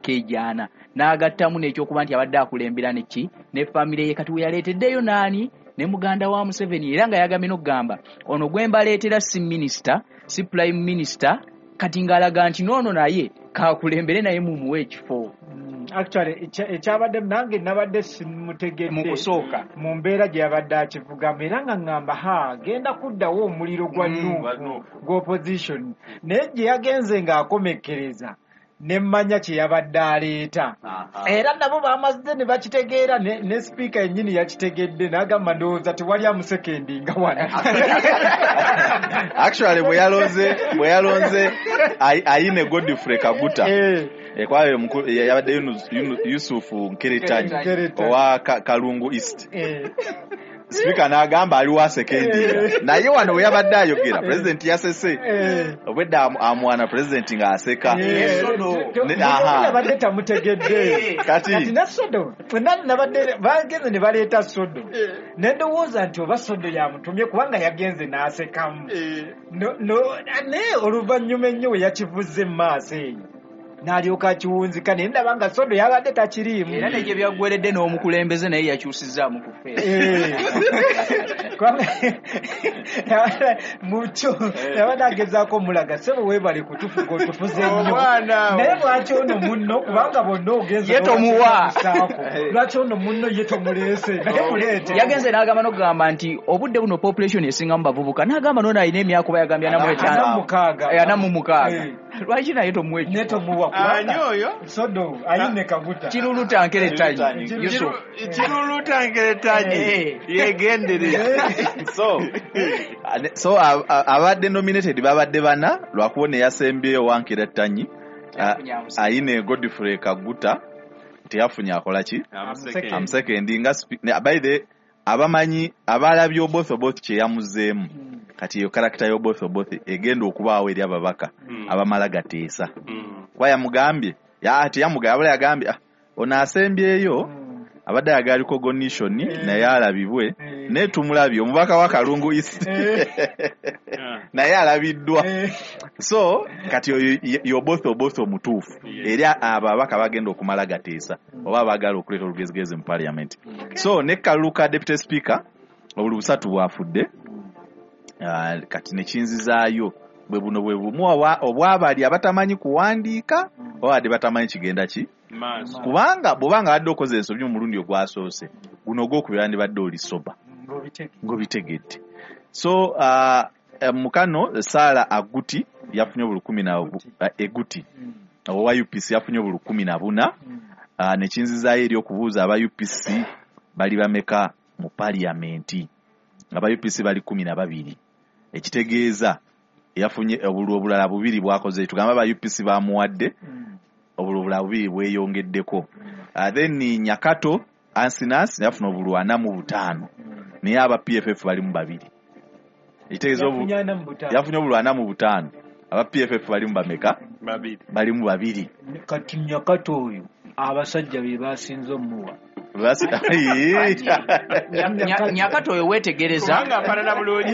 emyaka egyana, n'agattamu n'ekyokuba nti abadde akulembera neki ne famire ye. Kati we yaleeteddeyo naani ne muganda wa Museveni, era nga yagambye n'okugamba ono gwe mbaleetera si minisita, si prime minister. Kati ng'alaga nti noono naye kakulembere, naye mumuwe ekifo. Actually ekyabadde nange nabadde simutegedde mu kusooka. Mu mbeera gye yabadde akivugamu, era nga ŋŋamba, ha, genda kuddawo omuliro gwa Gwa NUP, NUP. gwa opposition. Naye gye yagenze ng'akomekkereza, ne mmanya kye yabadde aleeta. Era nabo bamaze ne bakitegeera, ne sipiika yennyini yakitegedde n'agamba, ndowooza tewali amusekendinga wano. Actually bwe yalonze Ayine Godfrey Kaguta, kwayo yabadde Yusufu Nkeretanyi Nkeretanyi. owa Kalungu East. Sipiika n'agamba aliwo asekendinga, naye wano we yabadde ayogera, pulezidenti yasese. Obwedda amwana pulezidenti ng'aseka. Aha. Yabadde tamutegedde. Kati ne Sodo fenna nabadde bagenze ne baleeta Sodo, ne ndowooza nti oba Sodo yamutumye, kubanga yagenze n'asekamu. No, naye oluvannyuma ennyo we yakivuze mu maaso eyo n'alyoka akiwunzika, naye ndaba nga Sodo yabadde takiriimu. Era negye byaggweredde n'omukulembeze naye yakyusizaamu ku feesi. Kubanga mukyo yabadde agezaako omulaga, sebo weebale kutufuga, otufuze nnyo. Omwana Naye lwaki ono munno, kubanga bonna ogenze Ye tomuwa. n'obasaako, lwaki ono munno ye tomuleese? Naye muleete. Yagenze n'agamba n'okugamba nti obudde buno population esingamu bavubuka, n'agamba noono alina emyaka oba yagambye ana mu ana etaano, mukaaga. 46, lwaki naye tomuwa Ne ekifo? tomuwa, Ani kubanga oyo? Sodo Ayine Kaguta. Kiruluta Nkeretanyi. Kiruluta. Yusuf. Kiruluta Nkeretanyi, yegendereza. So abadde nominated babadde bana, lwakuba neyasembyeyo wa Nkeretanyi, Ayine Godfrey Kaguta, teyafunye akola ki amusekendi nga by the abamanyi abalabye Oboth Oboth kyeyamuzeemu. Kati eyo character y'Oboth Oboth egenda okubaawo eri ababaka abamala gateesa, kuba yamugambye teyamugambye, abala yagambye, "Ah, ono asembyeyo abadde ayagala recognition, naye alabibwe." Naye tumulabye, omubaka wa Kalungu East naye alabiddwa. So kati oyo y'Oboth Oboth omutuufu eri abo ababaka bagenda okumala gateesa oba abaagala okuleeta olugezigezi mu parliament. So ne kalulu ka deputy speaker, obuli busatu bwafudde. Ah, kati nekinzizaayo bwe buno bwe bumu obwabali abatamanyi kuwandiika oba badde batamanyi kigenda ki Maaso. Kubanga bw'obanga badde okoze ensobi omulundi ogwasoose, guno ogwokubiri wandibadde oli soba ng'obitegedde. So mukano Saala Aguti yafunye obulukumi na Eguti owa UPC yafunye obulukumi na buna. Nekinzizaayo eri okubuuza aba UPC bali bameka mu paliyamenti. Aba UPC bali 12, ekitegeeza yafunye obululu obulala bubiri bwakoze. Tugamba aba UPC bamuwadde obululu obulala bubiri bweyongeddeko. Then Nyakato Ansinas yafuna obululu 45, naye aba PFF balimu babiri, ekitegeeza Yafunye 45. Yafunye obululu 45, aba PFF balimu bameka? Babiri. Balimu babiri. Kati Nyakato oyo abasajja be basinze omuwa. Nyakato oyo weetegereza Kubanga afaanana bulungi.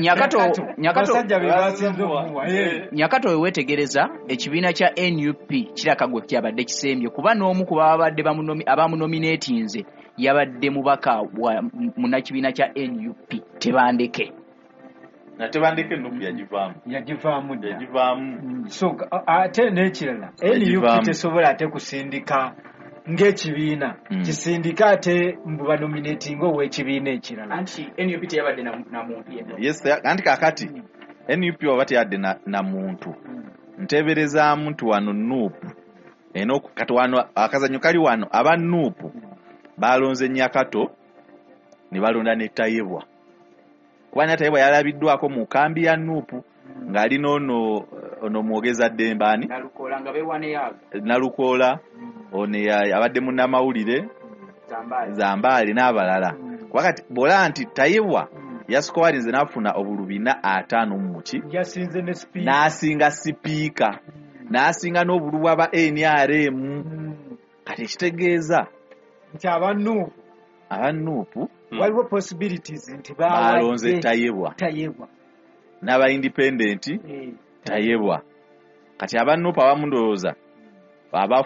Nyakato Abasajja be basinze omuwa. Nyakato oyo weetegereza, ekibiina kya NUP kiraka gwe kyabadde kisembye, kuba n'omu ku babadde abamunominatinze yabadde mubaka wa munnakibiina kya NUP Tebandeke. Natebandeke NUP yagivaamu. Yagivaamu dda. Yagivaamu. So ate n'ekirala, Yagivaamu. NUP tesobola ate kusindika ng'ekibiina kisindika ate mbu banominatinga ow'ekibiina ekirala. Anti NUP teyabadde na muntu yenna. Yes, anti kakati NUP oba teyadde na muntu, nteberezaamu nti wano NUP eno kati wano akazanyo kali wano, aba NUP balonze Nyakato ne balonda ne Tayebwa, kuba Tayebwa yalabiddwako mu kambi ya NUP ng'ali n'ono ono mwogeza ddembe ani? Nalukoola, nga beewaneyago. Nalukoola ono abadde munnamawulire. Zambaali. Zambaali n'abalala. Kuba kati bw'olaba nti Tayebwa yasikowalinze n'afuna obululu 450 muki, Yasinze ne sipiika. N'asinga sipiika, n'asinga n'obululu bw'aba NRM. Kati ekitegeeza nti aba NUP aba NUP waliwo possibilities nti balonze bawadde Tayebwa Tayebwa. N'aba independent. Tayebwa. Kati aba NUP abamu ndowooza abafunye